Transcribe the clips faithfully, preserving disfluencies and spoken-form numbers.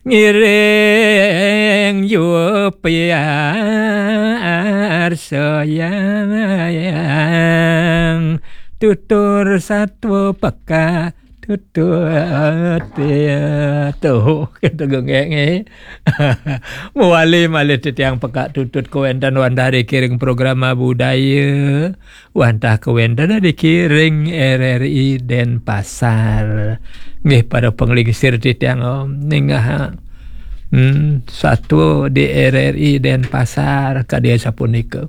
Ngiring yupiar sayang, tutur satwa peka tutut. Ya, tuh, kita gengeng, eh. Mawali malih titiang peka tutut kawéntenan wantah ring program budaya. Wantah kawéntenan niki ring R R I Denpasar. Nggih, para panglingsir titiang, om, ningeh, hmm, satwa di R R I Denpasar kadi sapunika.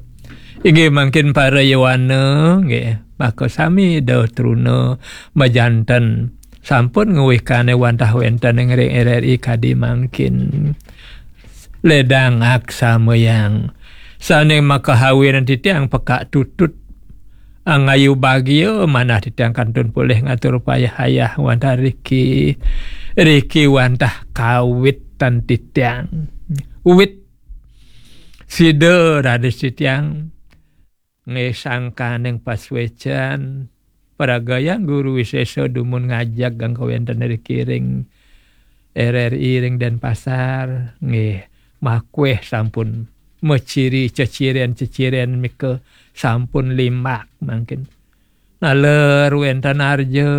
Inggih mangkin para yowana, nggih, makasami Ida truna majanten sampun ngwikanang wantah wénten ring R R I kadi mangkin. Ledang aksamayang. Sané makahawinang titiang peka tutut. Angayu bagia manah titiang kantun polih ngatur payah-ayah wantah riki. Riki wantah kawitan titiang. Wit sida raris titiang ngesangkaning pasuécan pragayang Guru Wisésa dumun ngajeg kawéntenan riki ring R R I ring Denpasar, nggih, makweh sampun maciri ceciren-ceciren mika sampun limbak mangkin. Naler wénten arja,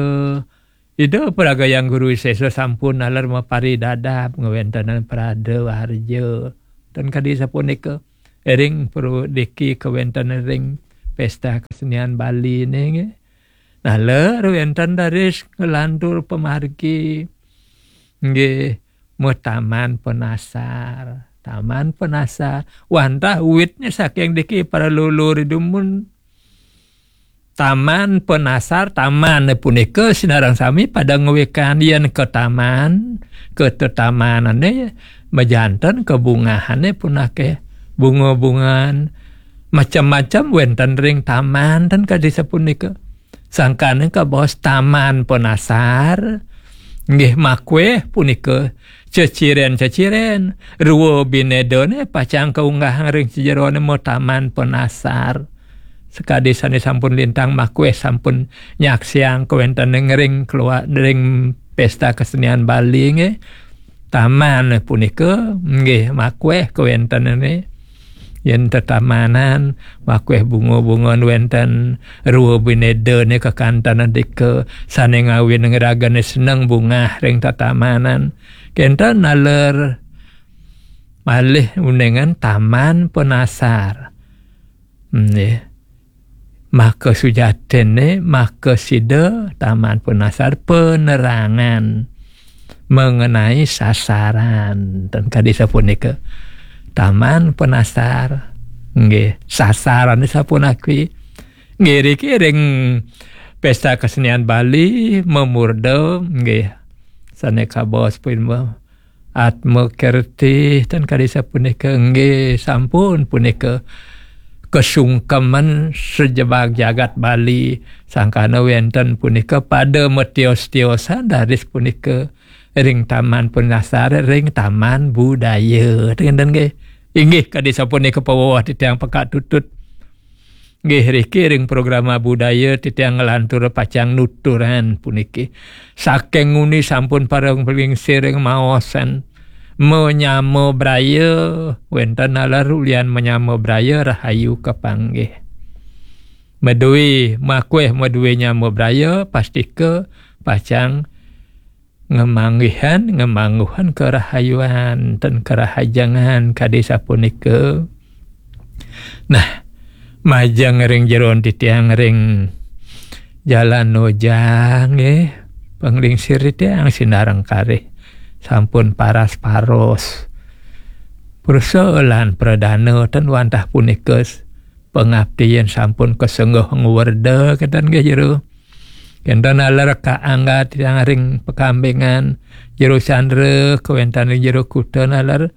Ida pragayang Guru Wisésa sampun naler maparidadab ngawéntenan prada arja. Ten kadi sapunika ring prodiki kawéntenan ring Pesta Kesenian Bali nggih. Naler wénten raris nglantur pamargi. Nggih, mataman penasar. Taman penasar. Wantah witnya saking diki para lulur dumun. Taman penasar, taman punika sinareng sami pada ngwikan yén ka taman, ka tetamanané majanten kabungahané pun akéh, bunga-bungaan, macam-macam wénten ring taman ten kadi sapunika. Sangkaning kabaos taman penasar, nggih makweh punika ceciren-ceciren, rua binedané pacang kaunggahang ring sajeroné mataman penasar. Sakadi sané sampun lintang makweh sampun nyaksiang kawéntenan ring kelua-, ring Pesta Kesenian Bali nggih. Taman punika nggih makweh kawéntenané. Yén tetamanan makweh bunga-bungaan wénten rua binedané kakantenan dika sané ngawinang ragané seneng bungah ring tetamanan. Kénten naler malih uningan taman penasar. Nggih. Maka sujatiné, maka sida taman penasar penerangan mengenai sasaran. Ten kadi sapunika. Taman penasar. Nggih, sasaran sapuniki. Nggih, riki ring Pesta Kesenian Bali mamurda, nggih. Sané kabaos pun Atma Kerthi ten kadi sapunika nggih sampun punika kasungkeman sajebag jagat Bali sangkana wénten punika pada matios-tiosan raris punika ring Taman Penasar ring Taman Budaya ten nggih. Inggih kadi sapunika paweweh titiang peka tutut. Nggih, riki ring programa budaya titiang nglantur pacang nuturang puniki. Saking nguni sampun pareng pelingsir ring maosan manyama braya, wénten naler ulian manyama braya rahayu kapanggih. Madué, makweh madué nyama braya, pastika pacang ngamanggihan, ngamangguhan karahayuan, ten karahajengan kadi sapunika. Nah, majeng ring jeroan titiang ring Jalan Nojang, nggih, panglingsir titiang sinareng kalih sampun paras-paros. Prusa lan pradana ten wantah punika pangapti yén sampun kasengguh ngwerda kénten nggih jero. Kénten naler kaangga titiang ring Pakambingan, Jero Chandra, kawéntenan ring Jero Kuta naler.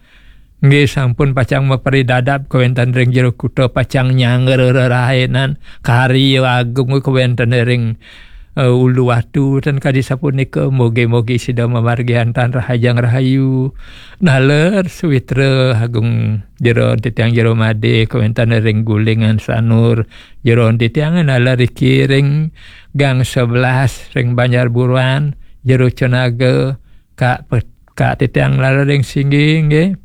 Nggih sampun pacang maparidadab kawéntenan ring Jero Kuta pacang nyanggra rerainan karya agung kawéntenan ring eh, Uluwatu ten kadi sapunika, mugi-mugi sida mamargian tan rahajeng rahayu. Naler sawitra agung jero titiang Jero Madé kawéntenan ring Gulingan Sanur, jero titiang naler riki ring Gang sebelas ring Banjar Buruan, Jero Cenaga, Kak Pet-, Kak titiang naler ring Singgi nggih.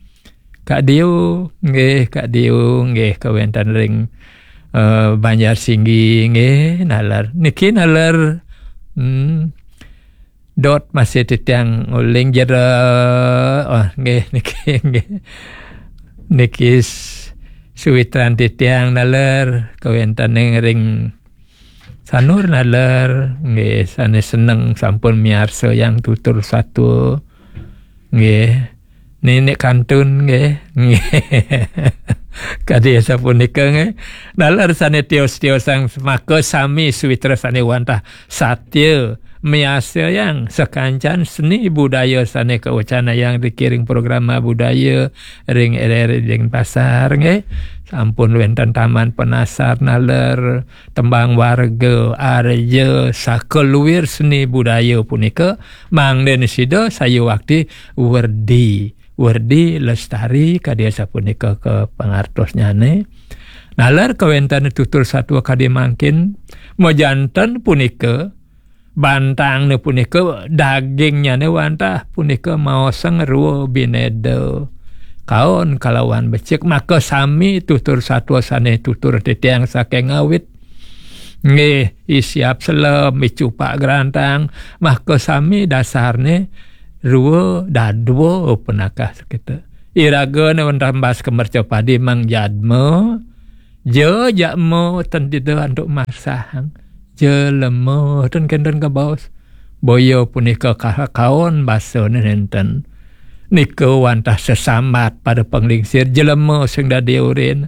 Kak Dio nggih, Kak Dio nggih kawénten ring eh, Banjar Singgi nggih, naler. Niki naler hmm, dot masih titiang uling jero. Oh, nggih niki nggih. Niki s- suwitran titiang naler kawénten ring Sanur naler nggih, sané seneng sampun miarsa yang tutur satua. Nggih. Nenek kantun nggih. Nggih. Kadi sapunika nggih. Naler sané tios-tiosang maka sami suwitra sané wantah satya miarsa yang sakancan seni budaya sané kawacanayang dikiring programa budaya ring R R I Denpasar nggih. Sampun wénten taman penasar naler tembang warga, arja, sakaluir seni budaya punika, mangda sida sayuwakti werdi, werdi lestari kadi sapunika ka pangartosnyané. Naler kawéntenan tutur satua kadi mangkin, majanten punika, bantangné punika dagingnyané wantah punika maosang rua bineda. Kaon kalawan becik, maka sami tutur satua sané tutur titiang saking awit. Nggih, i siap selem, i cupak grantang, maka sami dasarné rua dadua punakah sakita. Iragané wantah mbas ka mercapadi mangjadma, ja jadma ten dida antuk marsahang. Jelema ten kénten kabaos. Boya punika ka- kaon basané nénten. Nika wantah sesambat pada panglingsir jelema sing dadi urin.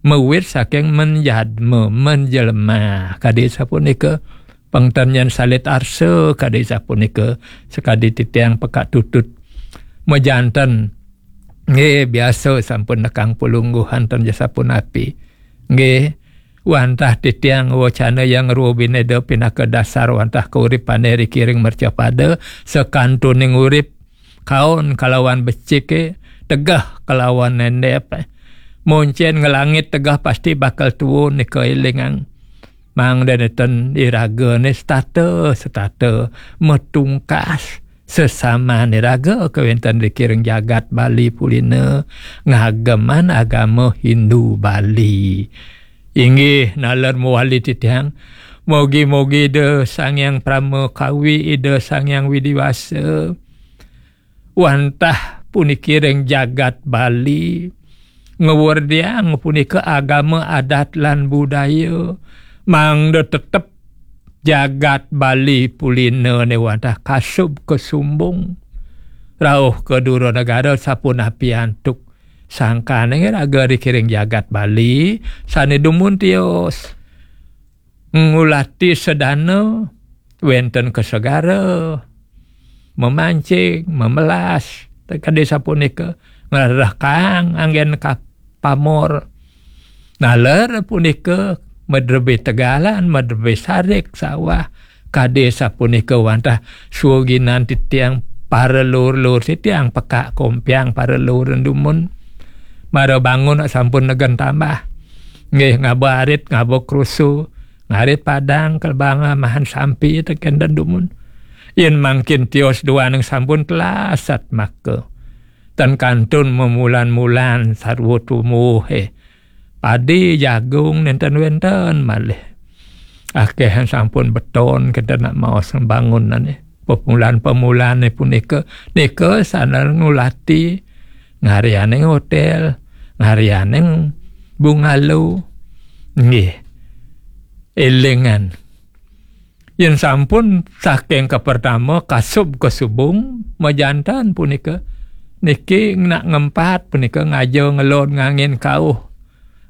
Mawit saking menjadma, menjelema. Kadi sapunika pangtanyan salit arsa, kadi sapunika sakadi titiang pekak tutut. Majanten nggih biasa sampun nekang palungguhan ten ja sapunapi. Nggih, wantah titiang wacana yang rua bineda pinaka dasar wantah kauripané rikiring mercapada, sakantuning urip, kaon kalawan becik, tegeh kalawan néndép. Moncén ngelangit tegeh pasti bakal tuun nika élingang. Mangda nénten iragané setata, setata, matungkas, sesaman iraga kawénten rikiring jagat Bali pulina ngageman agama Hindu Bali. Inggih, naler mawali titiang. Mogi-mogi Ida Sang Hyang Parama Kawi, Ida Sang Hyang Widi Wasa, wantah puniki ring jagat Bali, ngwerdiang punika agama adat lan budaya, mangda tetep jagat Bali pulinané wantah kasub kasumbung. Rauh ka dura negara sapunapi antuk sangkaning raga rikiring jagat Bali, sané dumun tios. Ngulati sedana wénten ka segara, memancing, memelas, kadi sapunika, ngrekang anggén ka pamor. Naler punika madrebé tegalan, madrebé sarik sawah, kadi sapunika wantah suginan titiang para lur-lur titiang pekak kompiang para lur dumun. Mara bangun sampun negen tambah. Nggih, ngaba arit, ngaba krusu, ngarit padang, kelbanga, mahan sampi, teken dan dumun. Yén mangkin tios duaning sampun telasat maka. Tan kantun memulan-mulan sarwa tumuhé. Padi, jagung, nénten wénten malih. Akéhan sampun beton, kita nak maos bangunané. Pemulan-pemulané punika, nika sané ngulati, ngaryaning hotél, ngaryaning bungalow. Nggih. Élingan. Yén sampun saking kapertama kasub kasubung, majanten punika, niki nak ngempat punika ngaja ngelod ngangin kauh.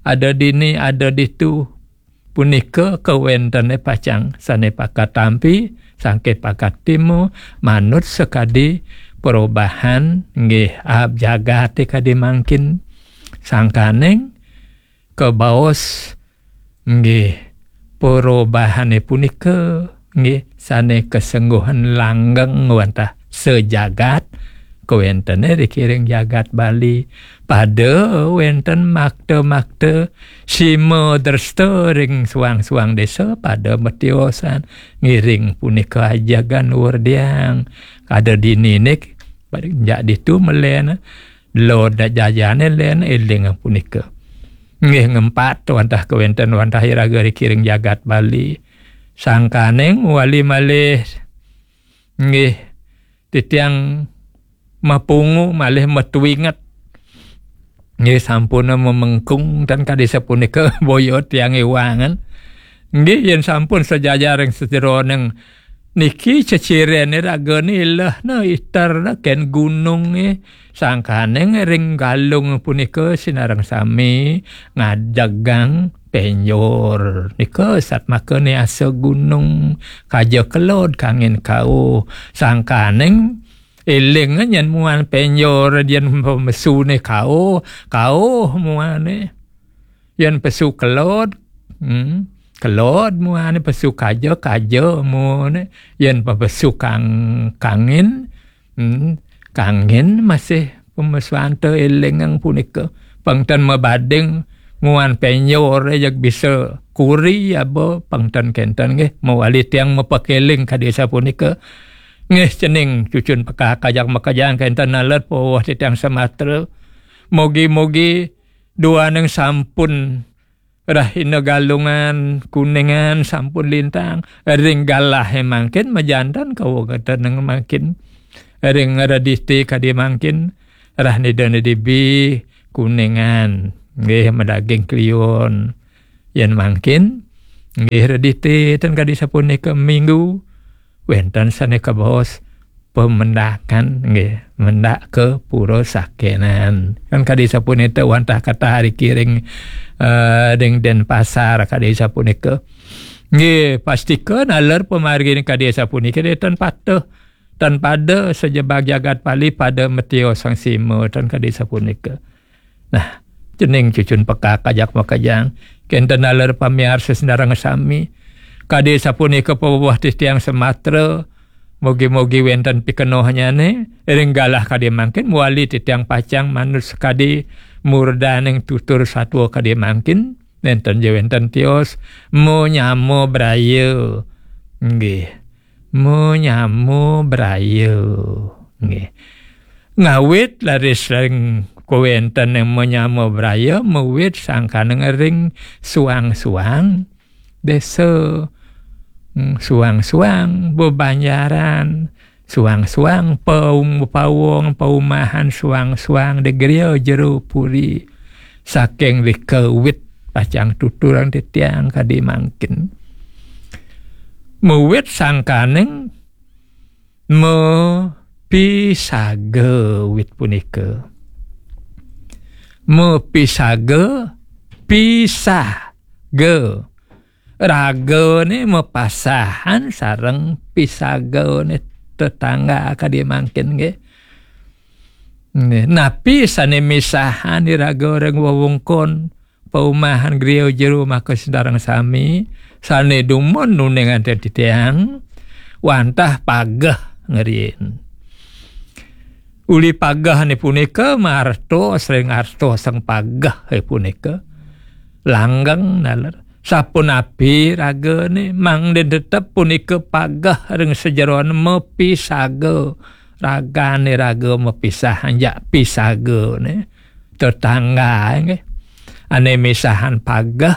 Ada dini, ada ditu. Punika kawéntené pacang sané pakat tampi, sangké pakat timu, manut sakadi perubahan nggih ab jagaté kadi mangkin. Sangkaning kabaos nggih perubahané punika nggih sané kasengguhan langgeng wantah sajagat kawéntené rikiring jagat Bali. Pada wénten makta-makta sima dresta ring suang-suang désa pada matiosan ngiring punika ajegan werdiang. Ada dininé Pada jak ditu melena, lo dak jajane len eling punika. Nggih, ngempat wantah kewenten wantah iraga riki ring jagat Bali. Sangkaning wali malih, nggih, titiang mapungu malih matuinget. Nggih, sampun memengkung tan kadi sapunika boya tiang iwangan. Nggih, yen sampun sajajar ring sajeroning niki cecirene ragane ilehna iterna ken gununge. Sangkaning ring Galung punika sinareng sami ngadegang penjor. Nika satmaka niasa gunung, kaja kelod kangin kauh. Sangkaning eling nyen muan penjor, yen pemesune kauh, kauh muane. Yen pesu kelod, hmm, kelod muane, pesu kaja, kaja muane. Yen pesu kang-, kangin, hmm, kangin masih pemesuante elingang punika. Pang ten mabading muan penjor jeg bisa kuri aba pang ten kenten nggih, mawali tiang mapakeling kadi sapunika. Nggih, cening cucun pekak ajak makejang kenten naler paweh titiang sematra. Mogi-mogi duaning sampun rahina Galungan, Kuningan sampun lintang. Ring galahe mangkin majanten kawegeten mangkin. Ring Redite kadi mangkin, rahina Dana Debi, Kuningan. Nggih, madaging Kliwon. Yen mangkin, nggih, Redite ten kadi sapunika Minggu, wenten sane kabaos pemendakan, nggih, mendak ke Pura Sakenan. Kan kadi sapunika wantah katah riki ring, eh, ring Denpasar kadi sapunika. Nggih, pastika naler pamargine kadi sapunika, nggih, ten patuh, ten pada sajebag jagat Bali pada matiosang sima, ten kadi sapunika. Nah, cening cucun pekak ajak makejang. Kenten naler pamiarsa sinareng sami. Kadi sapunika paweh titiang sematra, mugi-mugi wenten pikenohnyane, ring galah kadi mangkin mawali titiang pacang manut sakadi murdaning tutur satua kadi mangkin, nenten ja wenten tios, manyama braya. Nggih. Manyama braya. Nggih. Ngawit laris ring kawenten manyama braya, mawit sangkaning ring suang-suang desa. Hmm, suang-suang bebanjaran, suang-suang paung pawong, paumahan suang-suang di griya jero puri. Saking rika wit pacang tuturang titiang kadi mangkin. Mawit sangkaning mapisaga wit punika. Mapisaga, pisaga. Ragane mapasahan sareng pisagane tetangga kadi mangkin nggih. Nggih. Napi sane misahan iraga ring wewengkon paumahan griya jero maka sinareng sami, sane dumun nuningan titiang, wantah pageh ngrien. Uli pagehne punika martos ring artosang pageh punika. Langgeng naler. Sapunapi ragane, mangda tetep punika pageh ring sajeroning mapisaga. Ragane raga mapisahan jak pisagane. Tetangga nggih. Ane misahan pageh,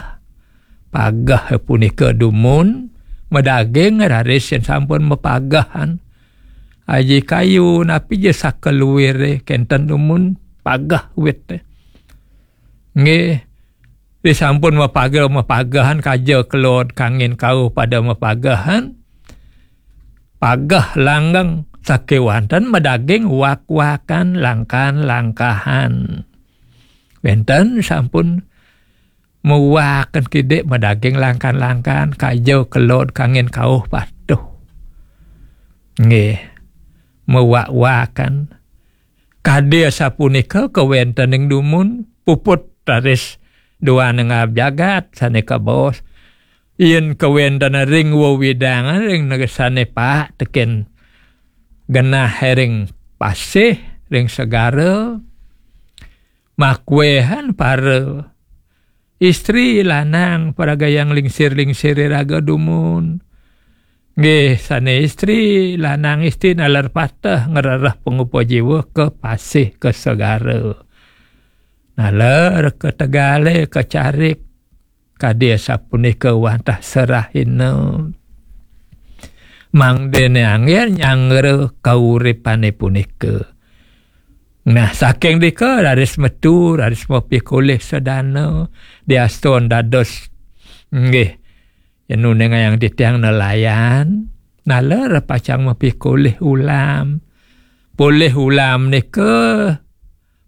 pageh punika dumun, madaging raris yen sampun mapagehan. Aji kayu napi ja saka luire kenten dumun pageh wit. Nggih. Disampun mapageh, mapagehan kaja kelod kangin kauh pada mapagehan. Pageh langgeng sakewanten madaging wak-wakan langkan-langkahan. Wenten sampun mawakan kidik madaging langkan-langkan kaja kelod kangin kauh patuh. Nggih. Mawak-wakan. Kadi asapunika kawentening dumun puput raris duaning jagat sane kabaos. Yen kawenten ring wewidangan ring negesane paek teken genah ring pasih ring segara, makuehan para istri lanang paragayang lingsir-lingsir iraga dumun. Nggih, sane istri, lanang istri naler pateh ngrereh pangupa jiwa ka pasih ka segara. Naler ka tegale, ka carik, kadi sapunika wantah serahina. Mangdene anggen nyanggra kauripane punika. Nah, saking dika raris metu, raris mapikolih sedana, diastun dados, nggih, yen uningayang titiang nelayan, naler pacang mapikolih ulam. Polih ulam nika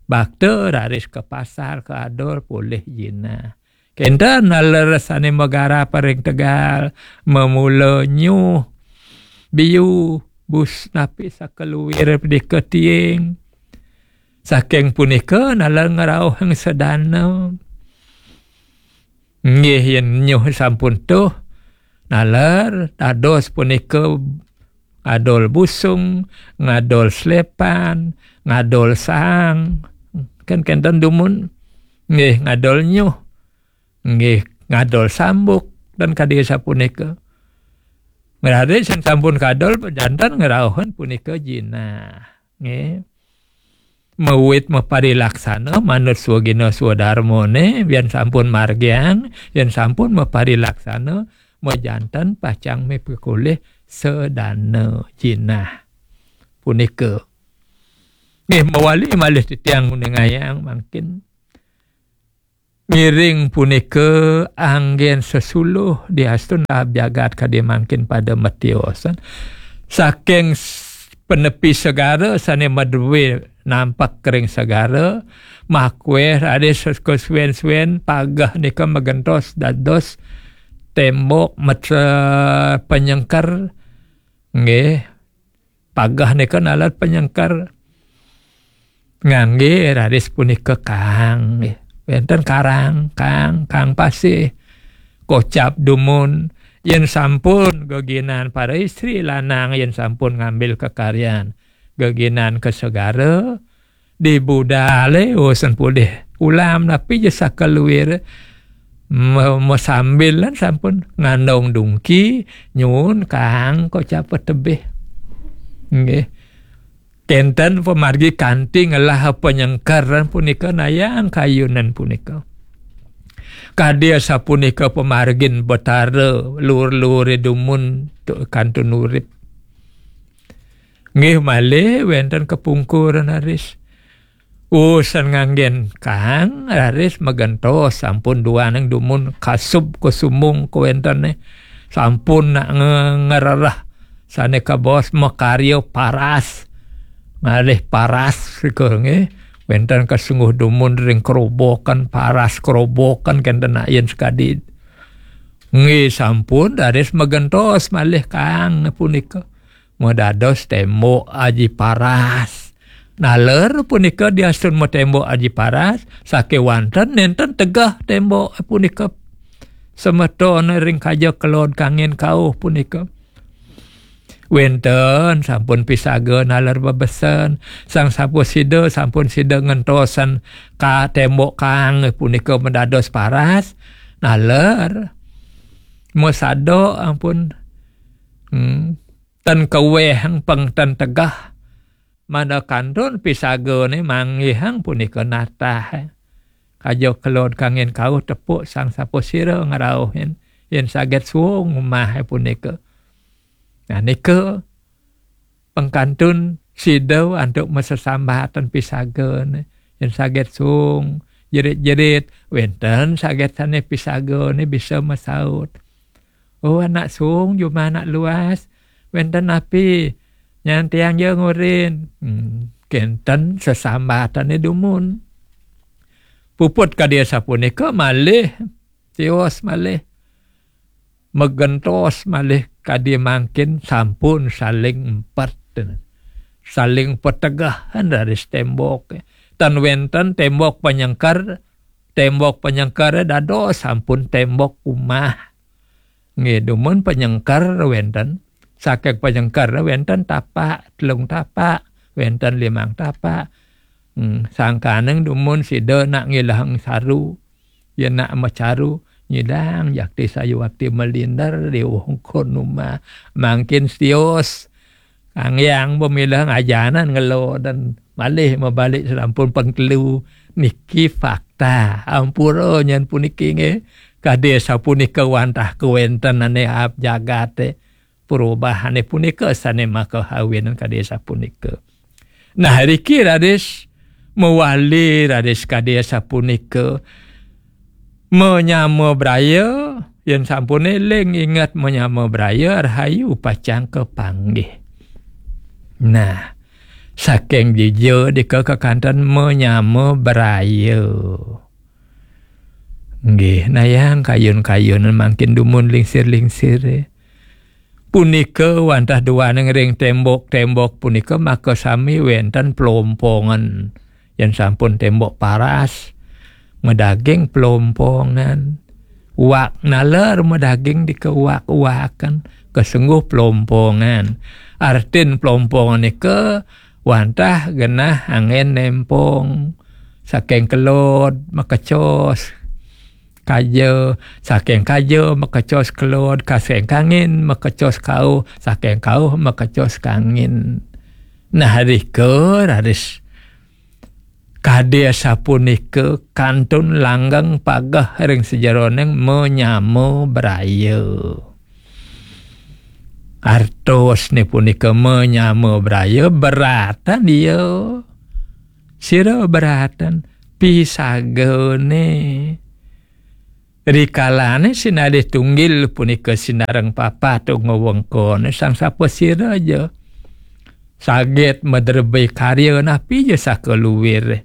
bakta raris ka pasar, ka adol polih jinah. Kenten naler sane magarap ring tegal, mamula nyuh, biu, bus napi sakaluir dika tiing. Saking punika naler ngrauhang sedana. Nggih, yen nyuh sampun tuh, naler dados punika ngadol busung, ngadol slepan, ngadol saang. Kan kenten dumun. Nggih, ngadol nyuh. Nggih, ngadol sambuk dan kadi sapunika. Ngrade sing sampun kadol, janten ngrauhan punika jinah. Nggih. Mawit maparilaksana manut swagina swadarmane, yen sampun margiang, yen sampun maparilaksana, majanten pacang mipikolih sedana jinah. Punika. Nggih, mawali malih titiang nguningayang mangkin. Ngiring punika anggen sesuluh diastun taab jagat kadi mangkin pada matiosan. Saking s-, penepi segara sane madue nampak kering segara, makweh raris kesuwen-suwen pageh nika magentos dados tembok met-, penyengker. Nggih, pageh nika nalar penyengker. Ngangge raris punika kaang, nggih. Wenten karang, kaang, kaang pasih. Kocap dumun, yen sampun geginan para istri lanang, yen sampun ngambil kekaryan geginan ka segara, di budale usan pulih ulam napi ja sakaluir me-, masambilan sampun ngandong dungki, nyuun kaang kocap tebih. Nggih. Kenten pamargi kanti ngelah penyengkeran punika nayang kayunan punika. Kadi asapunika pamargin Betara lur-lure dumun tu kantun urip. Nggih malih wenten kepungkuran raris. Usan nganggen kaang raris magentos sampun duaning dumun kasub kasumung kawentene. Sampun nak nge-, ngerereh sane kabaos makarya paras. Ngalih paras rika nggih. Wenten kasengguh dumun ring kerobokan, paras kerobokan kenten nak yen sekadi. Nggih sampun raris magentos malih kaang punika. Madados tembok aji paras. Naler punika diastun matembok aji paras, sakewanten nenten tegeh tembok punika. Semeton ring kaja kelod kangin kauh punika. Wenten sampun pisaga naler bebesen, sang sampun sida, sampun sida ngentosan ka tembok kaang punika madados paras, naler masada ampun, hmm, ten kaweh pang ten tegeh. Mada kantun pisagane manggihang punika natah. Kaja kelod kangin kauh tepuk sang sapasira ngrauhin. Yen saget suung umah punika. Nah, nika pengkantun sida antuk masesambatan pisagane. Yen saget suung, jerit-jerit, wenten saget sane pisagane bisa masaut. "Oh, anak suung, jumah anak luas. Wenten napi? Nyan tiang ja ngurin." Hmm, kenten sesambatane dumun. Puput kadi sapunika malih, tios malih. Magentos malih kadi mangkin sampun saling empet. Saling petegahan dari tembok. Tan wenten tembok penyengker, tembok penyengker dados sampun tembok umah. Nggih, dumun penyengker wenten. Saking penyengker wenten tapak, telung tapak, wenten limang tapak. Hmm, sangkaning dumun sida nak ngilahang saru. Yen nak macaru, Nyidang jakti sayuakti malinder di wongkon umah. Mangkin sios. Kang Hyang pamilih ngajanan ngelo dan malih mabalik sampun pengkelu. Niki fakta. Ampura nyen puniki nggih. Kade sapunika wantah kawenten ane ap jagate. Perubahane punika sane maka awinan kade sapunika. Nah, riki raris mawali raris kade sapunika. Menyama braya, yen sampun eling inget menyama braya rahayu pacang kapanggih. Nah, saking dija dika kekanten menyama braya. Nggih, nayang kayun-kayunan mangkin dumun lingsir-lingsir. Punika wantah duaning ring tembok-tembok punika maka sami wenten plompongan. Yen sampun tembok paras, madaging plompongan. Wak naler madaging dikewak-waken, kasengguh plompongan. Artin plompongan nika wantah genah angin nempong. Saking kelod makecos kaja, saking kaja makecos kelod, saking kangin makecos kauh, saking kauh makecos kangin. Nah, rika raris kade sapunika kantun langgeng pageh ring sajeroning menyama braya. Artosne punika menyama braya beratan iya. Sira beratan pisagane. Rikalane sinalih tunggil punika sinareng papat ngwengkone Sang Sapasira ja. Saget madrebé karya napi ja sakaluwir.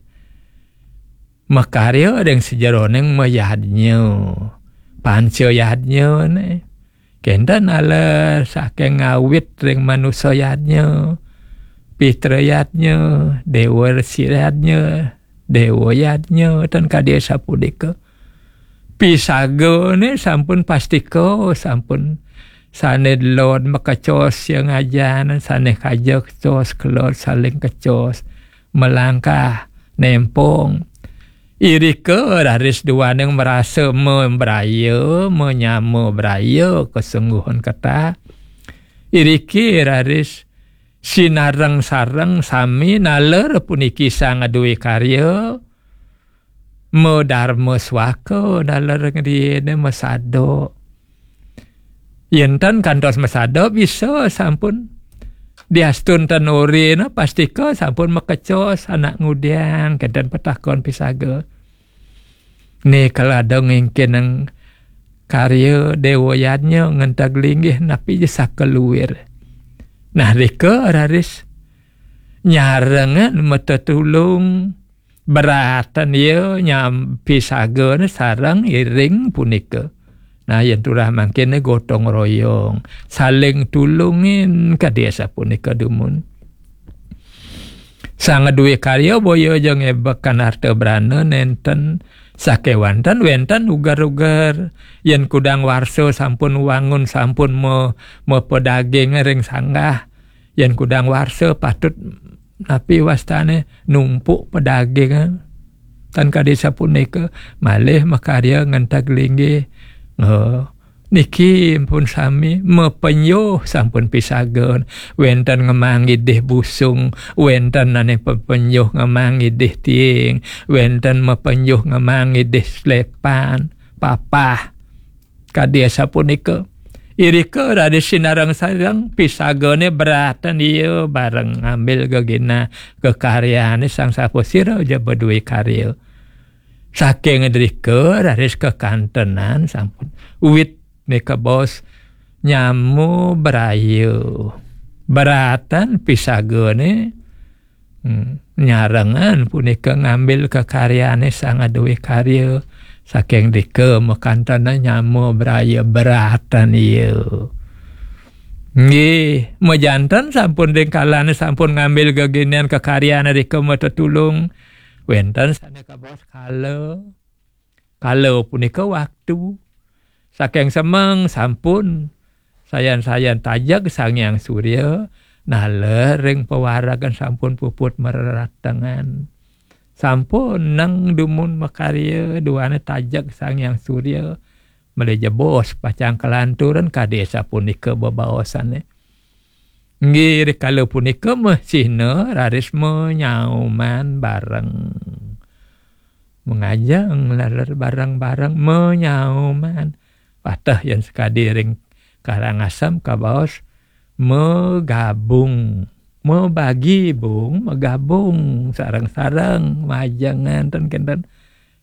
Makarya ring sajeroning mayadnya. Panca yadnyane. Kenten ala saking ngawit ring manusa yadnya, pitra yadnya, dewa yadnya, dewa yadnya, ten kadi sapunika. Pisagane sampun pastika, sampun sane lod makecos yang ajan, sane kaja kecos, kelod saling kecos, melangkah, nempong. Irika raris duaning marasa membraya, menyama braya, kasengguhan ketah. Iriki raris sinareng-sareng sami naler puniki sang aduwe karya, madarma swaka naler ngriene masada. Yen tan kantos masada bisa sampun. Diastun tan orena pastika sampun makecos anak ngudiang kenten patakon pisaga. Né kalada ngingkinang karya dewa yadnya ngenteg linggih napi ja sakaluwir. Nah, rika raris nyarengan matetulung. Beratan ya nyampi sagana sareng iring punika. Nah, yen turah mangkene gotong royong, saling tulungin kadi asapunika dumun. Sang duwe karya boya aja ngebekan harta brana nenten sakewanten wenten ugar-ugar. Yen kudang warsa sampun wangun, sampun me-, mepedaging ring sanggah, yen kudang warsa patut napi wastane numpuk pedagingan. Tan kadi sapunika, malih makarya ngenteg linggih. Oh, niki pun sami mapenyuh sampun pisagan. Wenten ngemang idih busung, wenten ane pepenyuh ngemang idih tiing, wenten mapenyuh ngemang idih slepan, papah. Kadi asapunika. Irika raris sinareng-sareng pisagane beratan iya bareng ngambil gegina kekaryane Sang Sapasira ja beduwe karya. Saking drika raris kekantenan sampun. Wit nika bos nyamu berayu. Beratan pisagane Hmm, nyarengan punika ngambil kekaryane sang aduwe karya, saking dika makantana nyama braya beratan iya. Nggih, majanten sampun ring kalane sampun ngambil geginian kekaryane dika matetulung. Wenten sane kabaos kala. Kala punika waktu. Saking semeng sampun sayan-sayan tajeg Sang Hyang Surya, naler ring pawaregan sampun puput mareratengan. Sampun neng dumun makarya duane tajeg Sang Hyang Surya, Mele jebos pacang kelanturan kadi sapunika bebaosane. Nggih, rikala punika mesihna raris menyauman bareng. Mengajeng laler bareng-bareng menyauman. Pateh yen sekadi ring Karangasem kabaos megabung. Mebagi bung, megabung, sareng-sareng, majengan ten kenten.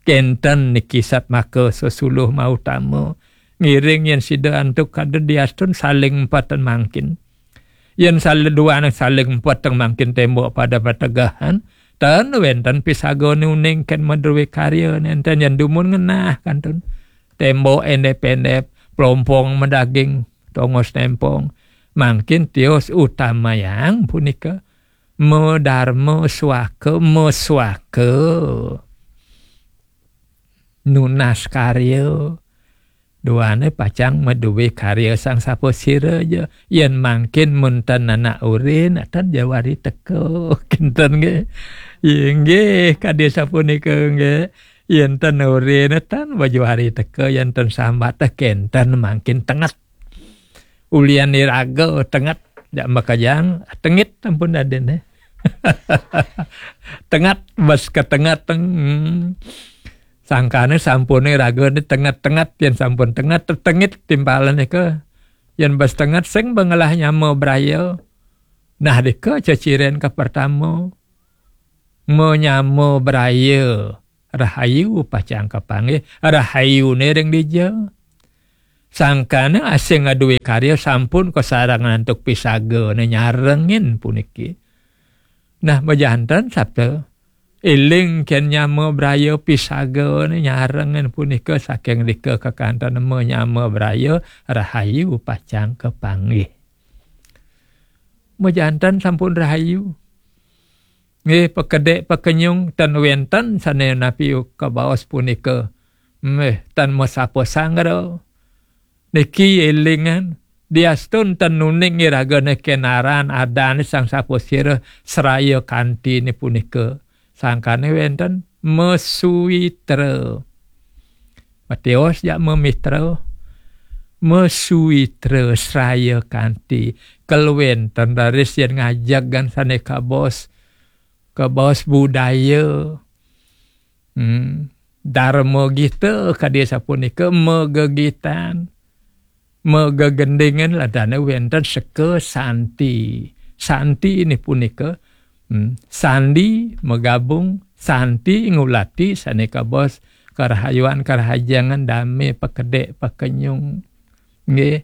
Kenten niki satmaka sesuluh mautama. Ngiring yen sida antuk kada diastun saling empatan mangkin. Yen sale duaneng saling empatan mangkin tembok pada pategahan, ten wenten pisagane uning ken madruwe karya nenten yen dumun ngenah kantun. Tembok endep-endep, plompong madaging, tongos nempong. Mangkin tios utamayang punika. Medarma suaka, mesuaka. Nunas karya. Duane pacang maduwe karya sang sapasira ja. Yen mangkin mun ten anak urin, atan jawari teka. Kinten nggih. Inggih, kadi sapunika nggih. Yen ten urin, atan bajawari teka, yen ten sambat teh kenten mangkin tenget. Ulian iraga tenget, jak makejang, tengit ampun daden, eh. Tenget, bes ketenget, teng. Hmm. Sangkane sampune raga ni tenget-tenget, yen sampun tenget, tetengit timpalane ke. Yen bes tenget, sing bengelah nyama braya. Nah, dika ceciren ke pertama. Menyama braya. Rahayu pacang kapanggih. Rahayune ring dija. Sangkane asing ngaduwe karya sampun kasarang antuk pisagane nyarengin puniki. Nah, majanten sabda, eling ken nyama braya pisagane nyarengin punika saking dika kakanten menyama braya rahayu pacang kapanggih. Majanten sampun rahayu. Nggih, pakedek pakenyung ten wenten sane napi kabaos punika. Meh, tan masapa sangra. Niki elingan, diastun ten nuning iragane kenaran adan sang sapasira seraya kantine punika. Sangkane wenten mesuitra. Matios jak memitra. Mesuitra seraya kanti. Kelwenten raris yen ngajegan sane kabos. Kabos budaya. Hmm. Dharma gita kadi sapunika megegitan. Megegendingan ladane wenten seka santi. Santi ini punika, hmm, sandi megabung, santi ngulati sane kabos karahayuan karahajengan dame pakedek pakenyung. Nggih.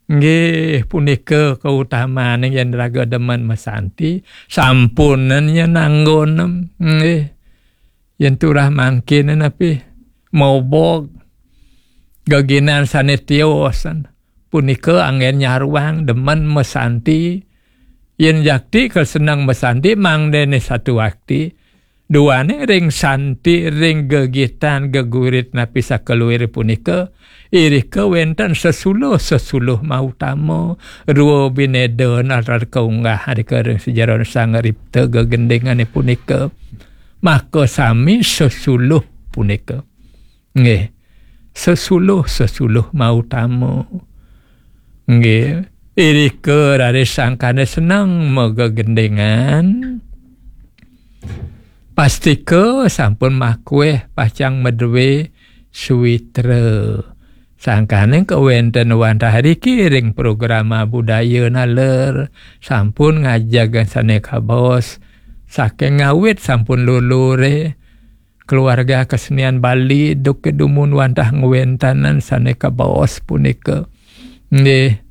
Nggih, punika kautamaning yen raga demen masanti, sampunen yen anggonem. Nggih. Yen turah mangkin napi maubog geginan sane tiosan. Punika anggen nyaruang demen masanti. Yen jakti keseneng masanti mangdene satu akti. Duane ring santi ring gegitan gegurit napi sakaluir punika. Irika wenten sesuluh-sesuluh mautama, rua bineda nalar kaunggah rika ring sejeron Sang Ripta gegendingane punika. Maka sami sesuluh punika. Nggih. Sesuluh-sesuluh mautama. Nggih. Irika raris sangkane seneng megegendingan. Pastika sampun makueh pacang madue suwitra. Sangkane kawenten wantah riki ring programa budaya naler, sampun ngajeg sane kabos. Saking ngawit sampun lulure keluarga kesenian Bali duk dumun wantah ngwentanan sane kabos punika. Nggih.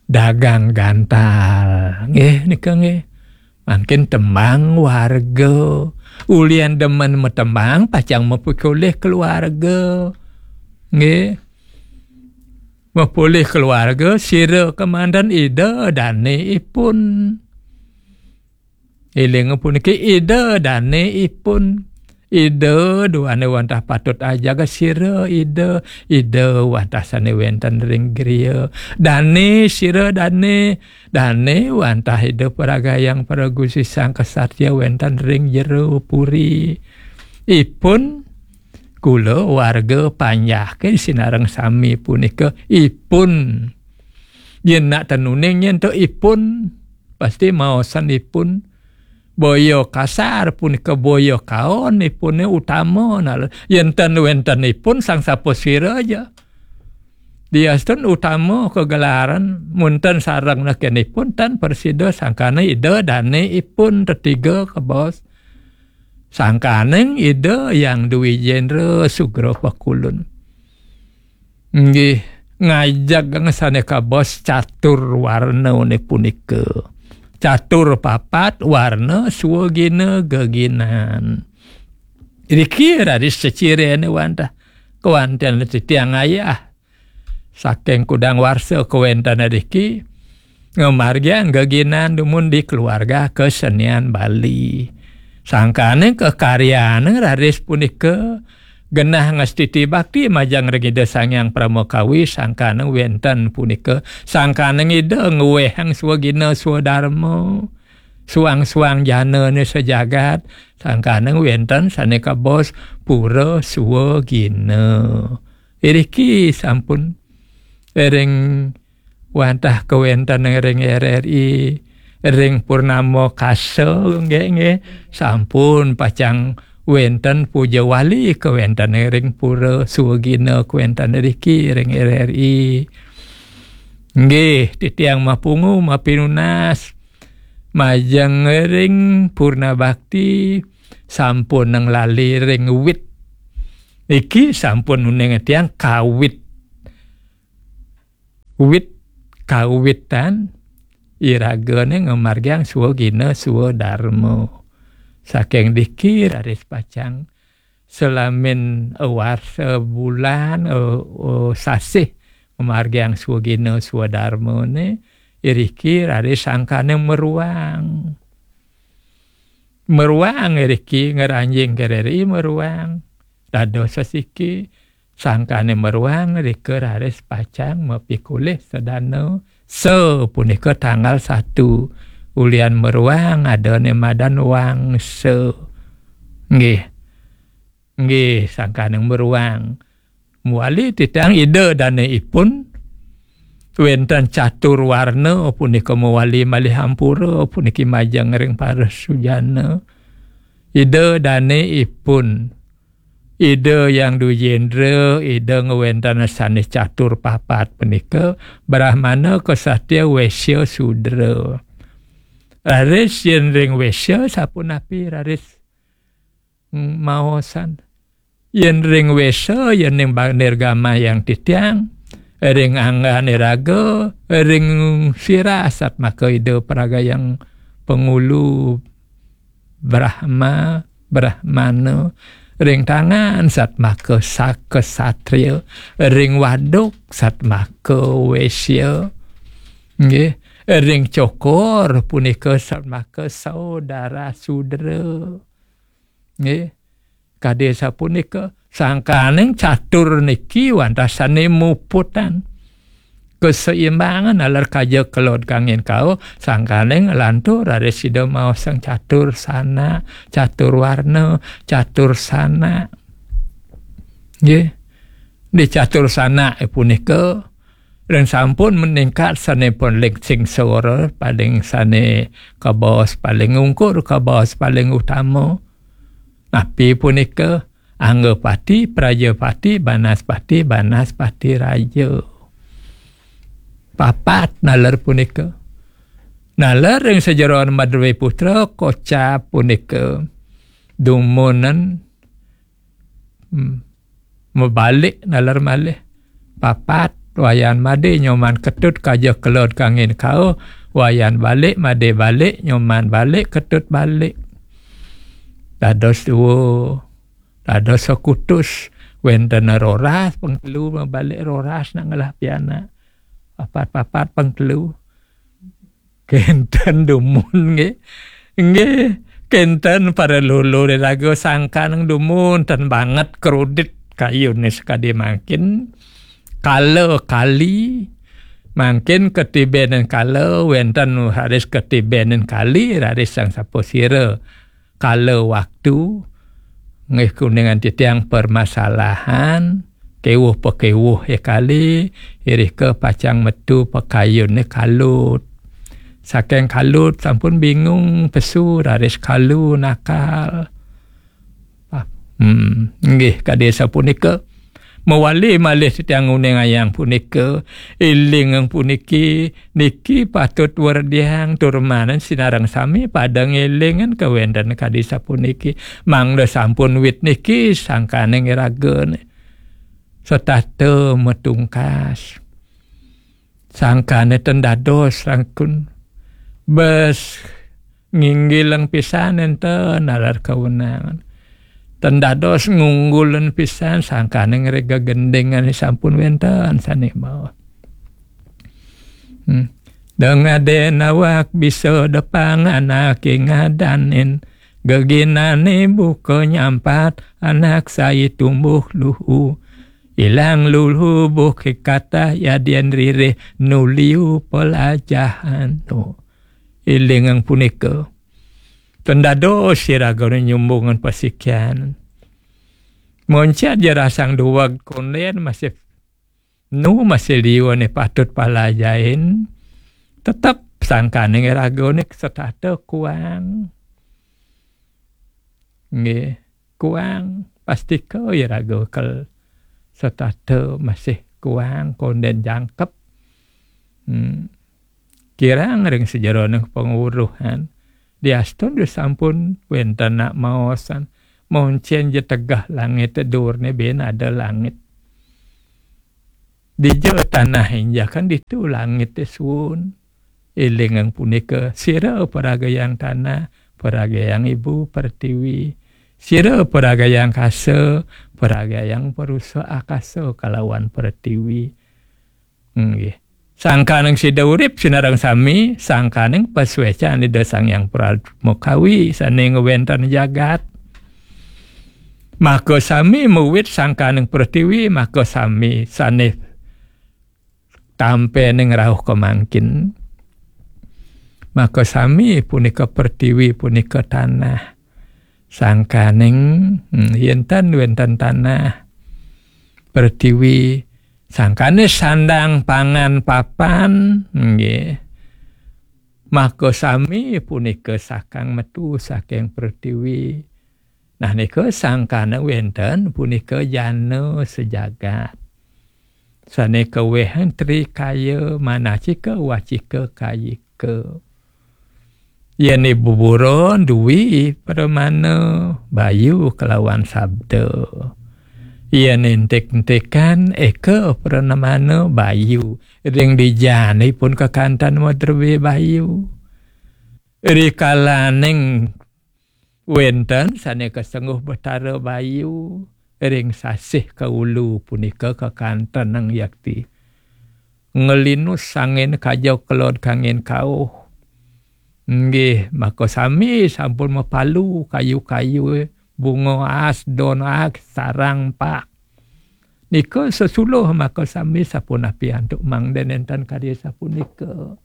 Dagang gantal. Nggih, nika nggih. Mangkin tembang warga. Ulian demen matembang, pacang mapikolih keluarga. Nggih. Mapolih keluarga, sira kemanten ida dane ipun. Eling puniki ida dane ipun. Ida duane wantah patut ajaga sira ida, ida wantah sane wenten ring griya. Dane sira dane, dane wantah ida paragayang paragusisang kesatria wenten ring jero puri. Ipun Kula warga panjaké sinareng sami punika ipun. Yén nak ten uning nyén to ipun, pasti maosan ipun. Boya kasar punika boya kaon ipuné utama. Nah, yén ten wénten ipun sang sapasira ja. Diastun utama kagelaran, mun ten sareng nekenipun ten prasida sangkana Ida dané ipun tetiga kabaos. Sangkaning Ida Hyang Dwi Jendra Sugra Pakulun. Nggih, ngajeg sané kabaos catur warna punika. Catur papat warna swagina geginan. Riki raris ceciréné wantah. Kéwanten titiang ayah. Saking kudang warsa kawéntenan riki, ngamargiang geginan dumun di keluarga kesenian Bali. Sangkaning kekaryaning raris punika genah ngastiti bakti majeng ring Ida Sang Hyang Parama Kawi, sangkaning wénten punika, sangkaning Ida ngwéhang swagina swadarma, suang-suang janané sajagat, sangkaning wénten sané kabaos pura swagina. Iriki sampun ring wantah kawéntenan ring R R I, ring purnama kasa, nggih, nggih, sampun pacang wénten puja wali kawéntenan ring pura swagina kawéntenan riki ring R R I. Nggih, titiang mapungu mapinunas majeng ring purna bakti sampun nang lali ring wit. Iki sampun uning tiang kawit. Wit kawitan iragané ngamargiang swagina swadarma. Saking diki raris pacang salamin warsa bulan, eh, eh, sasih ngamargiang swagina swadarmané, iriki raris sangkaning meruang. Meruang iriki ngranjing R R I meruang. Dados sasiki, sangkaning meruang rika raris pacang mapikulih sadana. Sa punika tanggal satu. Ulian meruang adané madan wangsa. Nggih. Nggih, sangkaning meruang. Mawali titiang Ida dané ipun, wénten catur warna punika mawali malih ampura puniki majeng ring para sujana. Ida dané ipun, Ida Hyang Dwijendra, Ida ngwénten sané catur papat punika, Brahmana, Ksatria, Wésya, Sudra. Raris yén ring Wésya sapunapi raris maosan. Yén ring Wésya, yén ring ba-, nirgamayang titiang, ring anggané raga, ring sirah satmaka Ida pragayang pangulu Brahma, Brahmana, ring tangan satmaka sa-, Ksatria, ring waduk satmaka Wésya, nggih, ring cokor punika satmaka saudara Sudra. Nggih. Kadi sapunika, sangkaning catur niki wantah sané muputan. Keseimbangan naler kaja kelod kangin kaul, sangkaning lantur raris Ida maosang catur sanak, catur warna, catur sanak. Nggih. Di catur sanak punika, ring sampun meningkat sané paling singsara, paling sané kabaos paling ungkur, kabaos paling utama. Napi punika? Anggapati, Prajapati, Banaspati, Banaspati Raja. Papat naler punika. Naler ring sajeroning Madwé Putra kocap punika dumunan, hmm, mabalik naler malih. Papat, Wayan Madé Nyoman Ketut kaja kelod kangin kaul, Wayan balik, Madé balik, Nyoman balik, Ketut balik. Dados dua, dados sakutus, wénten Roras, pang telu mabalik Roras nak ngelah pianak. Papat-papat pang telu. Kénten dumun nggih. Nggih, kénten para lulu ri raga sangkan dumun ten banget kredit kayuné sakadi mangkin. Kala kali, mangkin katibénin kala, wénten raris katibénin kali, raris sang sapasira. Kala waktu, Nggih, kuningan titiang permasalahan, kewuh-pakewuh ya kali, irika pacang metu pakayun ni kalut. Saking kalut sampun bingung pesu raris kalu nakal. Ah, hmm, nggih, kadi sapunika. Mawali malih titiang nguningayang punika, ilingang puniki, niki patut werdiang tur manen sinareng sami pada ngelingan kawenten kadi sapuniki. Mangda sampun wit niki sangkaning iragane setata matungkas. Sangkane ten dados rangkun. Bes nginggilang pisan enten nalar kawenangan. Ten dados ngunggulan pisan sangkane ngrega gendingan sampun wenten sane maos. Hmm. Dengaden awak bisa depang anake ngadanin. Geginane buka nyampat anak sai tumbuh luhu. Ilang luluh buh kikatah yadian ririh nuliu pelajahan. Oh. Ilingang punika. Ten dados iragane nyumbungan pasikian. Moncet ja rasang duweg konden masih nu masih liu ane patut palajain. Tetep sangkaning iragane setata kuang. Nggih, kuang pastika iraga kel setata masih kuang konden jangkep. Hmm. Kirang ring sajeroning panguruhan. Diastun sampun wenten nak maosan. Moncen ja tegeh langit durne ben ada langit. Dija tanah injakan ditu langit suun. Elingang punika, sira paragayang tanah, paragayang ibu pertiwi. Sira paragayang kasa, paragayang parusa akasa kalawan pertiwi. Nggih. Sangkaning sida urip sinareng sami, sangkaning pasuecan Ida Sang Hyang Pramakawi sane ngwenten jagat. Maka sami muwit sangkaning pertiwi, maka sami sane tampening rauh kamangkin. Maka sami punika pertiwi, punika tanah. Sangkaning, hmm, yen tan wenten tanah, pertiwi, sangkane sandang pangan papan, nggih. Maka sami punika sakang metu saking pertiwi. Nah, nika sangkana wenten punika jana sejagat. Sane kaweh trikaya manacika wacika kayika. Yen buburon dwi pramana bayu kelawan sabda. Yen entik-entikan eka pramana bayu. Ring dijanipun kakantan madrewe bayu. Rikalaning wenten sane kasengguh Betara Bayu ring sasih kaulu punika kakantenang yakti. Ngelinus angin kaja kelod kangin kauh. Nggih, maka sami sampun mapalu kayu-kayu, bunga as, don as, sarang pak. Nika sesuluh maka sami sapunapi antuk mangda nenten karya sapunika.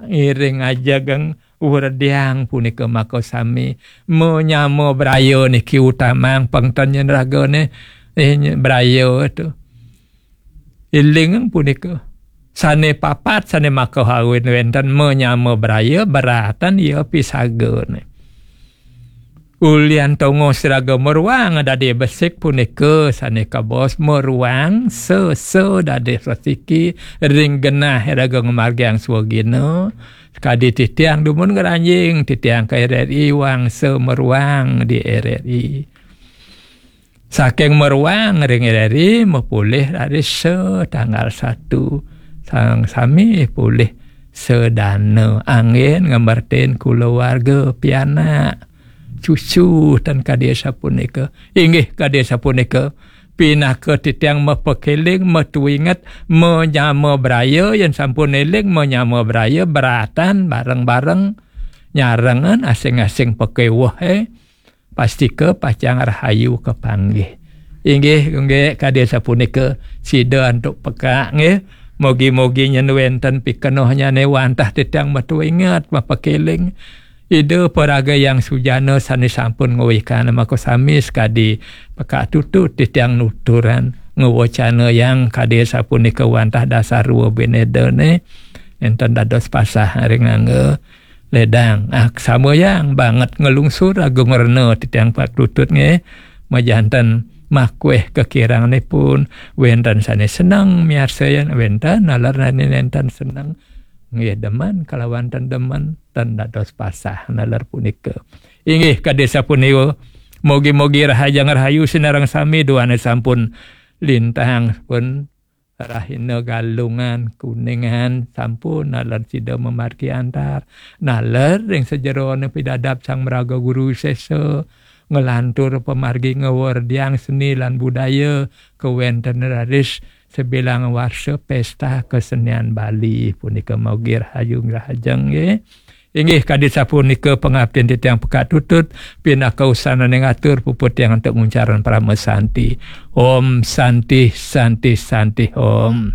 Ngiring ajegeng werdiang punika maka sami menyama braya niki utamang pengten yen ragane, eh, braya tu. Iling punika. Sane papat sane maka kawin wenten menyama braya beratan ya pisagane. Ulian tongos raga meruang dadi besik punika sane kabos meruang sesa dadi sesiki ring genah raga ngamargiang swagina. Kadi titiang dumun ngranjing, titiang ka R R I wangsa meruang di R R I. Saking meruang ring R R I mapulih raris tanggal satu. Sang sami pulih sedana angin ngemertin kulawarga pianak. Cucu tan kadi sapunika. Inggih kadi sapunika. Pinaka titiang mapakeling, matuinget, manyama braya, yen sampun eling, manyama braya, beratan, bareng-bareng, nyarengan, asing-asing pakeweh, eh. Pastika pacang rahayu kapanggih. Inggih, inggih, kadi sapunika, sida antuk pekak, nggih. Mogi-mogi nyen wenten pikenohnyane wantah titiang matuinget, mapakeling. Ida paraga Hyang Sujana sane sampun ngwekan maka sami sakadi pekak tutut titiang nuturan ngwecanayang kadi sapunika wantah dasar ruwa binedane enten dados pasah ring angga ledang. Ah, samayang banget nglungsur agung rena titiang pekak tutut nggih. Majanten makweh kekiranganipun, wenten sane seneng miarsayan, wenten naler sane nenten seneng. Nggih, demen kalawan ten demen, ten dados pasah naler punika. Inggih, kadi sapunika, mugi-mugi rahajeng rahayu sinareng sami duane sampun lintang pun rahina Galungan, Kuningan, sampun naler sida mamargi antar, naler ring sajerone pidadap Sang Maraga Guru Sesa, nglantur pamargi ngawerdiang seni lan budaya, kawenten raris sebilang warsa pesta kesenian Bali punika mugi rahayu rahajeng nggih. Inggih kadi sapunika pangaptin titiang pekak tutut, pinaka usananing atur puput tiang antuk nguncaran parama santi. Om Santi, Santi, Santi, Om.